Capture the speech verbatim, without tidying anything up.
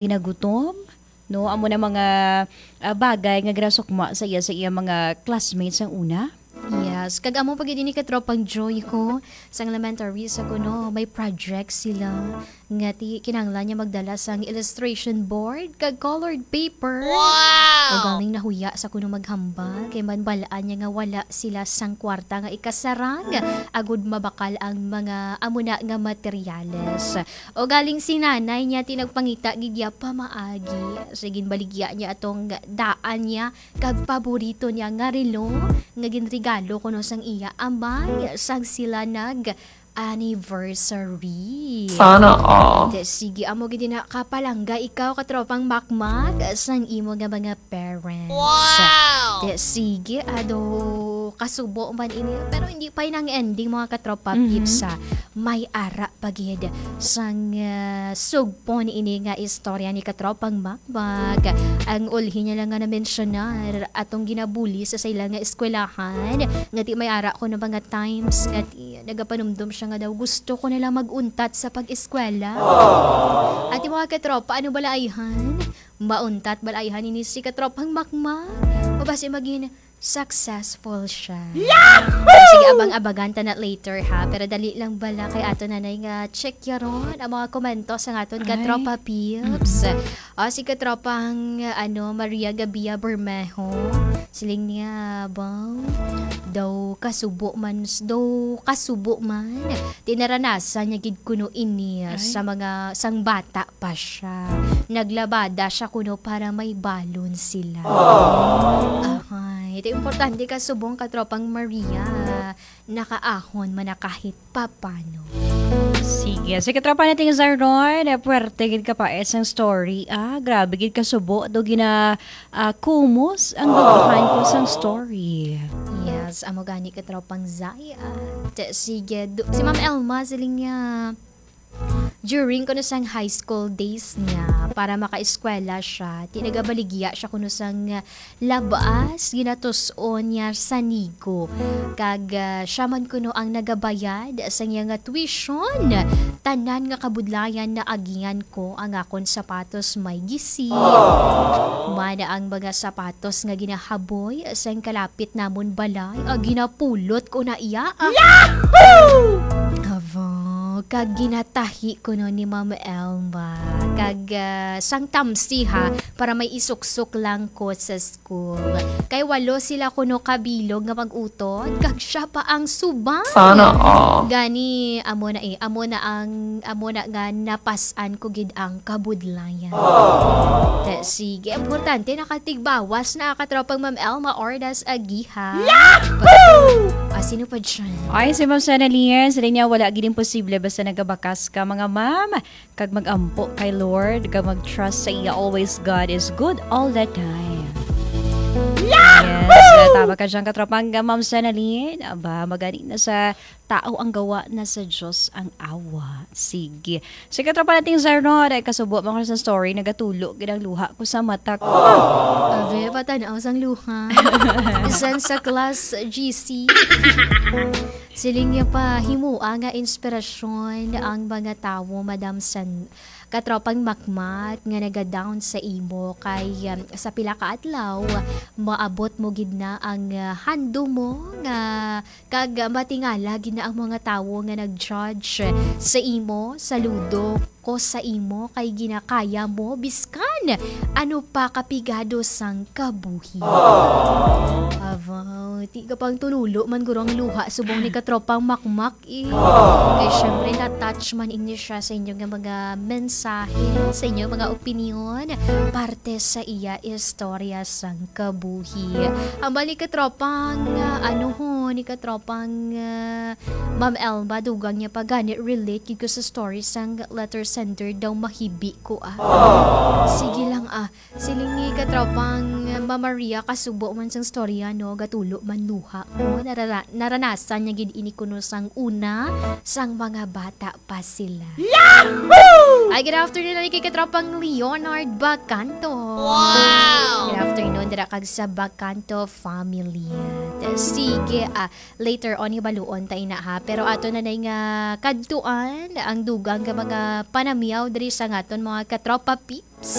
ginagutom, no? Amo na mga, ah, bagay nga ginasukma sa iya, sa iya mga classmates ang una. Yes, kag amo pa gid ini, katropang Joy, ko sang elementary sa kuno, may project sila nga ti-, kinahanglan niya magdala sang illustration board kag colored paper. Wow! O galing nahuya sa kuno maghambal kay man balaan niya nga wala sila sang kwarta nga ikasarang agud mabakal ang mga amo na nga materyales. O galing si nanay niya ti nagpangita gid iya pamaagi. Sige, ginbaligya niya atong daan niya kag paborito niya nga relo nga ginregalo kuno sang iya amay sang sila nag-anniversary. Sana all. Te, sige, amo gid na kapalangga ikaw, katropang Makmak, sang imo nga mga parents. Wow! Te, sige, ado kasubo man ini, pero hindi pa inang ending, mga katropa Mhm. Pips, ha. May ara pa gid sang, ah, sugpon ini nga istorya ni katropang Makmak. Ang ulhi niya lang nga na-mensionar atong ginabuli sa sa ila nga eskwelahan, nga ti may ara ko na mga times nga ti nagapanumdom siya nga daw gusto ko na lang mag-untat sa pag-eskwela. Ati mga katropa, ano bala ayhan? Mauntat bala ayhan ini si katropang Makmak? O basi maging successful siya? Yahoo! Sige, abang-abangan ta na later, ha? Pero dali lang bala kay ato nanay nga check yaron ang mga komento sa aton Ay. katropa Pips. Mm. O, si katropang, ano, Maria Gabia Bermejo. Siling niya, bang, daw kasubo man, daw kasubo man. Tinaranasan niya gid kuno ini Ay. sa mga, sang bata pa siya. Naglabada siya kuno para may balon sila. Aww. Ahay, ito importante ka subong katropang Maria. Nakaahon man na kahit papano. Sige. Sige, katropa nating Zaron, eh, puwerte gid ka pa, eh, sang story, ah. Grabe gid ka subo, do gina, ah, kumos ang duduhan ko sang story. Yes, amo gani katropang Zay, ah. Te, sige, do, si Ma'am Elma, siling niya, during kuno sang high school days niya, para makaeskwela siya, ti nagabaligya siya kuno sang, ah, labas, ginatus-on niya sa nigo. Kag, ah, siya man kuno ang nagabayad sa iya nga tuition. Tanan nga kabudlayan naagihan ko ang akon sapatos may gisi. Mana ang mga sapatos nga ginahaboy sang kalapit namon balay, ah, ginapulot ko na iya. Ah. Yahoo! Aba, kag ginatahi kuno ni Ma'am Elma. Kag, ah, sang tamsi, ha, para may isuksok lang ko sa school. Kay walo sila kuno ka bilog nga mag-utod, kag siya pa ang subay. Sana all. Gani, amo na eh, amo na ang, amo na nga napas-an ko gid ang kabudlayan. Te, sige, importante, nakatigbawas na katropang Ma'am Elma Ordas Agiha. Yahoo! Ah, sino pa dyan? Ay, si Ma'am Senalyn, sila niya, wala gid imposible basta nagabakas ka, mga ma'am. Kag mag-ampo kay Lord, kag mag-trust sa iya always. God is good all the time. Yes, Yahoo! Tama ka dyan, katropang Ma'am Senalyn. Aba, magani na sa tao ang gawa, na sa Diyos ang awa. Sige. Si katropa nating Zarno, dahil kasubo mo ko sa story, nagatulo gid ang luha ko sa mata ko. Ave, patanaw sang luha. Bisan sa class G C. Siling niya pa, himoa nga inspirasyon ang mga tawo, Madam San, katropang Makmak, nga naga-down sa imo kay, um, sa pila ka adlaw, maabot mo gid na ang, uh, handom mo nga, kag matingala gid na ang mga tawo nga nag-judge sa imo. Saludo ko sa imo kay ginakaya mo biskan ano pa kapigado sang kabuhi. Aww. Aba, ti ka pang tululo man guro ang luha subong ni katropang Makmak, eh. Aww. Kay syempre, na-touch man ini siya sa inyo nga mga mensahe, sa inyo mga opinyon, parte sa iya istorya sang kabuhi. Ang bali katropang, ah, ano ho, ni katropang, ah, Ma'am Elma, dugang niya pa gani, relate gid ko sa story sang letter sender daw mahibi ko, ah. Sige lang, ah. Siling ni katropang Ma'am Maria, kasubo man sang storya, no, gatulo man luha ko. Narara-, naranasan niya gid ini kuno sang una, sang mga bata pa sila. Yahoo! Ay, good afternoon, ani kay katropang Leonard Bacanto. Wow! Good afternoon, dira kag sa Bacanto family. Sige, ah, later on, hibaluon ta ina, ha. Pero ato na nay nga kadtuan ang dugang nga mga panamyaw diri sa ngaton mga katropa P.